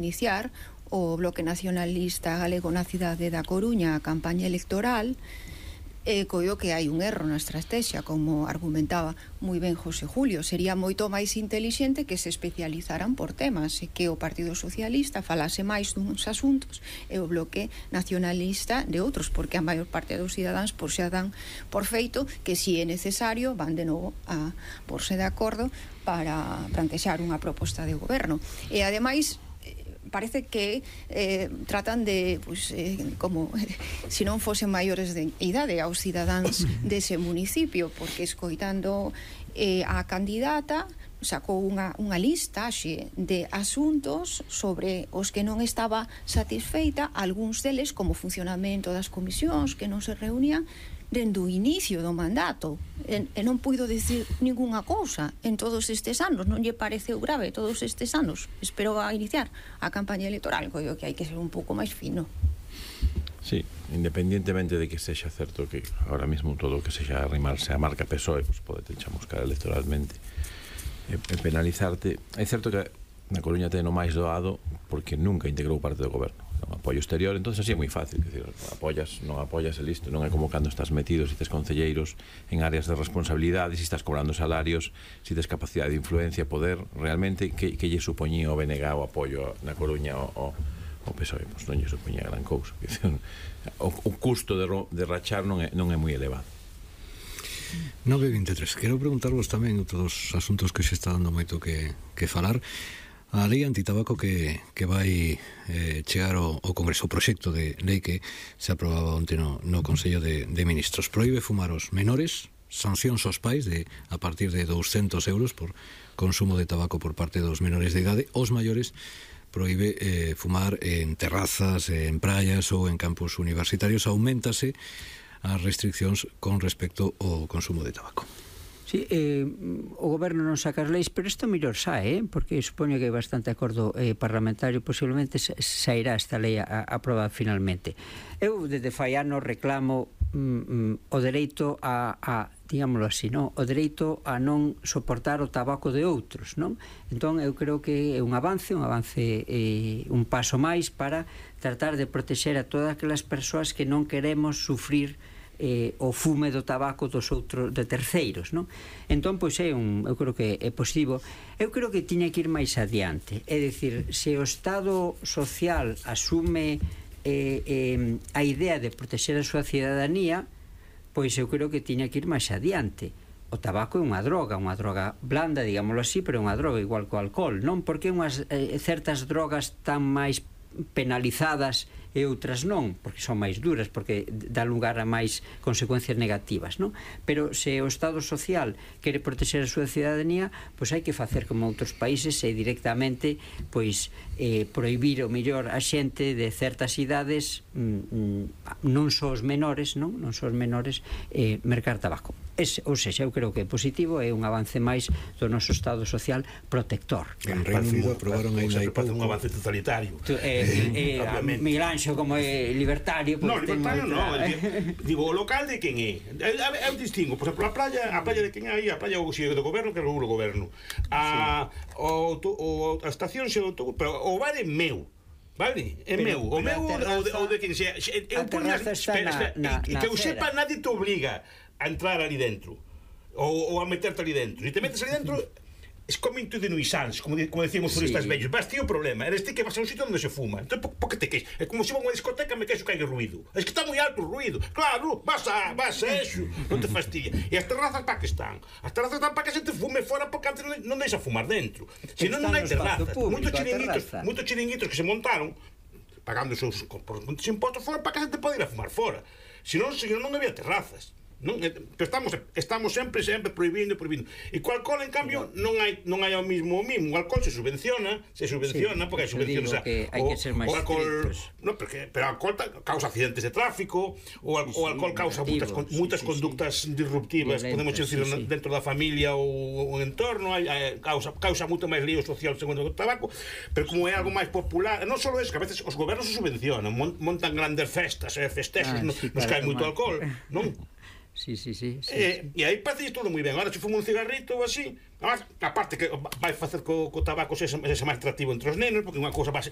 iniciar o Bloque Nacionalista Galego na cidade da Coruña a campaña electoral, coio que hai un erro na estrategia, como argumentaba moi ben José Julio. Sería moito máis intelixente que se especializaran por temas e que o Partido Socialista falase máis duns asuntos e o Bloque Nacionalista de outros, porque a maior parte dos cidadáns xa dan por feito que si é necesario van de novo a porse de acordo para plantexar unha proposta de goberno. E ademais parece que tratan de como se non fosen maiores de idade aos cidadáns dese municipio, porque escoitando a candidata sacou unha lista de asuntos sobre os que non estaba satisfeita, algúns deles como funcionamento das comisións que non se reunían dende o inicio do mandato, e non puido dicir ningunha cousa en todos estes anos. Non lle pareceu grave todos estes anos? Espero a iniciar a campaña electoral, coio que hai que ser un pouco máis fino. Sí, independientemente de que sexa certo que ahora mismo todo o que sexa arrimarse a marca PSOE pues pode te chamuscar electoralmente e penalizarte. É certo que na Coruña ten o máis doado porque nunca integrou parte do goberno, non apoio exterior, entonces así é moi fácil, decir, apoyas, non apoyas e listo. Non é como cando estás metido, si tes concelleiros en áreas de responsabilidade, si estás cobrando salarios, si tes capacidade de influencia, poder, realmente que lle supoñía o BNG o apoio na Coruña o PSOE, pois non lle supoñía gran cousa. O custo de rachar non é moi elevado. 9.23. Quero preguntarvos tamén outros dos asuntos que se está dando moito que falar. A lei antitabaco que vai chegar ao Congreso, o proxecto de lei que se aprobaba onte no Consello de Ministros, proíbe fumar os menores, sancións aos pais a partir de 200 euros por consumo de tabaco por parte dos menores de idade. Os maiores proíbe fumar en terrazas, en praias ou en campus universitarios. Auméntase as restriccións con respecto ao consumo de tabaco. Sí, o goberno non saca as leis, pero isto mellor sae, porque supoño que hai bastante acordo parlamentario, posiblemente sairá esta lei aprobada finalmente. Eu desde fai anos reclamo o dereito a digámoslo así, non? O dereito a non soportar o tabaco de outros, non? Entón eu creo que é un avance, un paso máis para tratar de protexer a todas aquelas persoas que non queremos sufrir o fume do tabaco dos outros, de terceiros, non? Entón, pois eu creo que é positivo. Eu creo que tiña que ir máis adiante, é dicir, se o Estado social asume a idea de protexer a súa cidadanía, pois eu creo que tiña que ir máis adiante. O tabaco é unha droga blanda, digámoslo así, pero é unha droga igual que o alcohol, non? Porque unhas certas drogas tan máis penalizadas e outras non, porque son máis duras, porque dá lugar a máis consecuencias negativas, non? Pero se o Estado social quere protexer a súa cidadanía, pois hai que facer como outros países e directamente pois prohibir o mellor a xente de certas idades, non só os menores, non só os menores, mercar tabaco. Ou seja, eu creo que é positivo, é un avance máis do noso Estado social protector. En Reino Unido aprobaron aí un avance totalitario. Miguel Anxo como é libertario. Non, libertario non. Digo, o local de quen é? Eu distingo, por exemplo, a playa de quen é aí, a playa do goberno que regula o goberno. A estación xe do autobús, pero o bar é meu. Vale? É meu. O meu ou de quen sea. Eu poño que eu sepa, nadie te obliga a entrar ali dentro ou a meterte ali dentro. Se te metes ali dentro es como into de nuisance, como decíamos por estas vellos. Vas ti o problema, eres ti que vas a un sitio onde se fuma. Entón, por que te queixas? É como se va a unha discoteca me queixo que hai ruido. Es que está moi alto o ruido. Claro, vas a eso, non te fastidia. E as terrazas para que están? As terrazas están para que se te fume fora, porque antes non deixa fumar dentro. Se non hai terrazas. Moitos chiringuitos que se montaron pagando os seus impostos fora para que se te pode ir a fumar fora. Se non había terrazas. Pero estamos sempre prohibindo. E co alcohol, en cambio, non hai o mismo. O alcohol se subvenciona, porque hai subvenciones. Hai que ser máis estrictos. Pero o alcohol causa accidentes de tráfico, o alcohol causa moitas conductas disruptivas, podemos decir, dentro da familia ou o entorno, causa moito máis lío social segundo o tabaco, pero como é algo máis popular, non só eso, que a veces os gobernos se subvencionan, montan grandes festas, festexos nos que hai moito alcohol, non? Sí. E aí parece todo moi ben. Agora se fumo un cigarrito ou así, aparte que vai facer co tabaco ese máis atractivo entre os nenos, porque unha cousa que vai